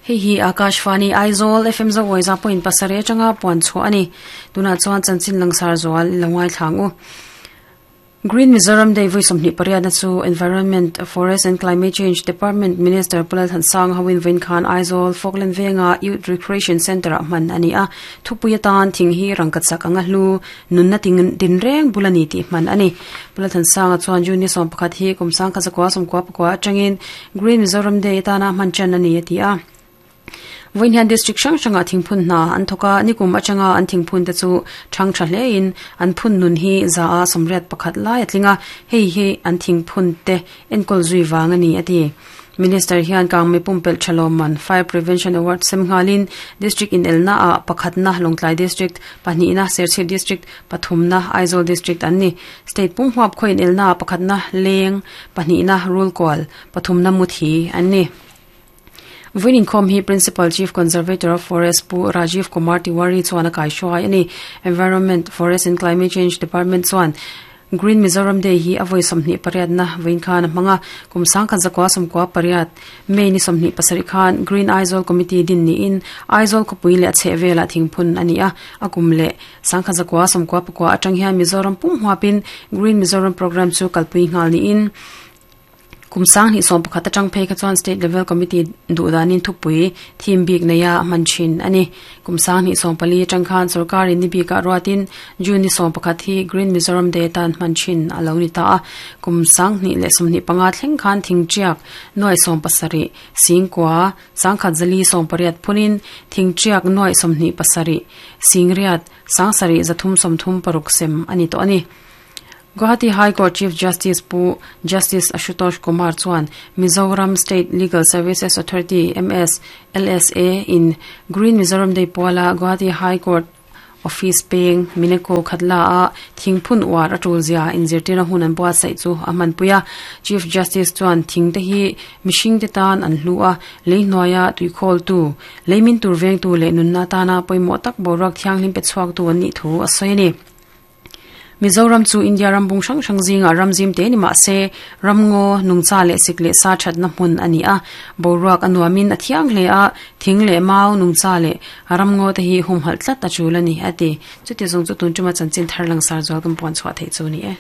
Hei hi Akashvani Aizawl FM Zawai za point pasarih atanga puan chhuah a ni. Tunah chuan chanchin langsar zual i lo ngaithla ang u. Green Mizoram Day vui 28 na chu Environment, Forest and Climate Change Department Minister Pu Lalthansanga hoin vawiin khan Aizawl Falkland Venga Youth Recreation Centre ah hman a ni a. Thupui atan thing hi rangkachak anga hlu nunna tinreng bul a ni tih hman a ni. Pu Lalthansanga chuan June ni 11 hi kum 1994 atangin Green Mizoram Day atana hman tan a ni a ti a. Vawiin hian district hrang hrangah thingphun hna an thawk a, nikum atanga an thingphun te chu thang tha hlein an phun nun hi za a 81 lai a tling a, hei hi an thingphun te enkawl zui vang a ni a ti. Minister hian Kangmei pumpelh tha lawmman Fire Prevention Award sem nghalin district inelna ah pakhatna Lawngtlai District, pahnihna Serchhip District, pathumna Aizawl District an ni. State pumhuap khaw inelna ah pakhatna Leng, pahnihna Rulkual, pathumna Muthi an ni. Vawiin inkhawm hi Principal Chief Conservator of Forest Pu Rajiv Kumar Tiwari chuan a kaihruai a ni. Environment, Forest and Climate Change Department chuan Green Mizoram Day hi a vawi 28 na vawiin khan a hmang a, kum 1998 May ni 27 khan Green Aizawl Committee din niin Aizawl khawpui leh a chhehvelah thingphun a ni a, a kum leh 1999 atang hian Mizoram pum huapin Green Mizoram Programme chu kalpui nghal niin Kum 2011 atang phei kha chuan State Level Committee duh danin thupui theme bik neia a hman thin a ni. Kum 2014 atang khan sorkarin ni bikah ruatin June ni 11 hi Green Mizoram Day atan hman thin a lo ni ta a. Kum 2025 thleng khan thingtiak nuai 17 singkua 1480 phunin thingtiak nuai 27 singriat 7336 sem a ni tawh a ni. Guwahati High Court Chief Justice Pu Justice Ashutosh Kumar chuan Mizoram State Legal Services Authority, MS, LSA, in Green Mizoram Day puala Guwahati High Court Office peng Mineko Khatla a thingphun uar a tul zia inzirtirna hun an buatsaih chu a hmanpui a. Chief Justice chuan thing te hi mihring te tan an hlu a, lei hnuaia tuikhawltu, lei min tur vengtu leh nunna atana pawimawh tak boruak thianghlim pe chhuaktu an nih thu a sawi a ni. Mizoram chu India ram bung hrang hrang zingah ram zim te ni mah se, ramngaw, nungcha leh sik leh sa thatna hmun a ni a. Boruak a nuamin a thiang hle a, thing leh mau, nungcha leh ramngaw te hi humhalh tlat a tul a ni, a ti. Chuti zawng chu tun tuma chanchin thar langsar zual kan puan chhuah theih chu a ni e.